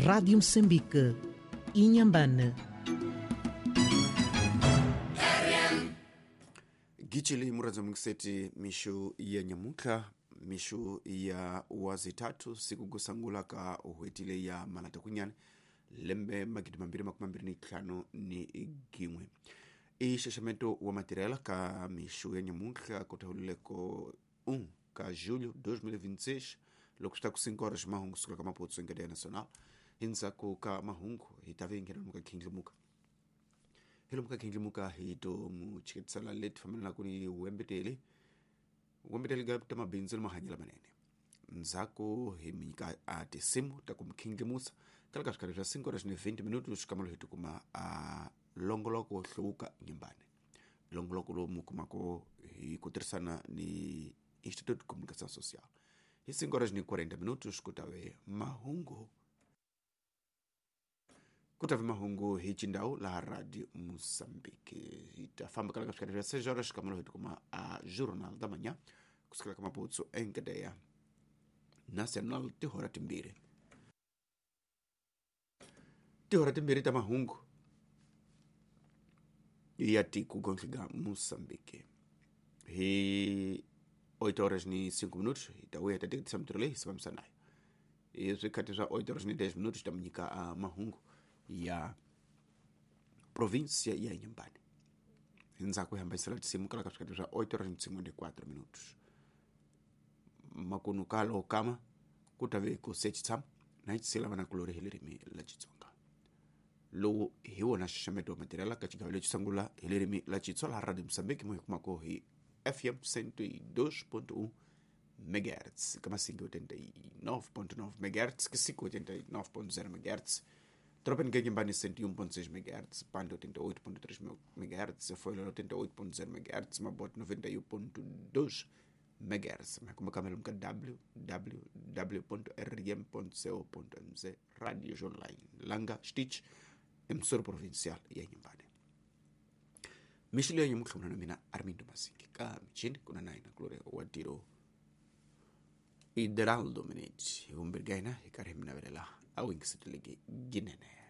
Rádio Moçambique, Inhambane. Gichili muradza mukiseti mishu ya nyamuka mishu ya wazitatu siku kusangula ka uhwetile ya malata kunyane lembe 2025 ni gimwe ixaxameto wa matirela ka mixu ya nyamuka kutahulileko 1 ka julho 2026 loko swi ta ku 5 horas mahungu sukela ka Maputo enkadeya nacional hindzhaku ka mahungu hi ta vengela muka khindlimuka hi lomu ka khindlimuka hi to mu chiketisela leti fambelanaku ni wembeteli wembeteli ga ta mabindzu ni mahanyelo manene ndzhaku hi mi nyika a tinsimu ta ku mi khindlimusa kala ka swikarhi swa 5 horas ni 20 minutos xikamelo hi tikuma a longoloko wo hluvuka nyimbane longoloko lowu mu kumako hi ku tirhisana ni Instituto de Comunicação Social hi 5 horas ni 40 minutos ku ta ve mahungu ku ta ve mahungu hi chindhawu laha Radio Moçambique hi ta famba kala ka swikarhi swa 6 horas xikamelo hi tikuma a Jornal da Manhã kusukela ka Maputo enkadeya Nacional tihora timbirhi tihora timbirhi ta mahungu ya tiko gontlika Moçambique hi 8 horas ni 5 minutos hi ta vuya hi ta teketisa mintirho leyi hi sivamisa nayo hi swikhathi swa 8 horas ni 10 minutos ta mi nyika mahungu ya província ya Inhambane endzhaku hi hambanyisela tinsimu kala ka swikhathi swa 8 horas ni 54 minutos makunu kalo kama ku ta ve ku se tshama na xitsela vana kulori hi ririmi la Xitsonga lowu hi wona xaxameto wa matirhela ka xigava lexi sungula hi ririmi la Xitsonga laha Radio Moçambique mo hi kumako hi FM 102.1 MHz ka masingi 89.9 MHz Kisiku 89.0 MHz Tropen Ngenyimbani 101.6 MHz Pande 88.3 MHz Foilera 88.0 MHz Mabote 91.2 MHz makumeka ka www.rm.co.mz Radio Online Langa Stitch emsoro provincial ya Inhambane mixilo ya nyamutlha na mina Armindo Masingi ka michini kuna naina Gloria Watiro Ideraldo Minich hi vumbirhi ka hina hi karhi hi mi navelela a wingiseteleke ginene.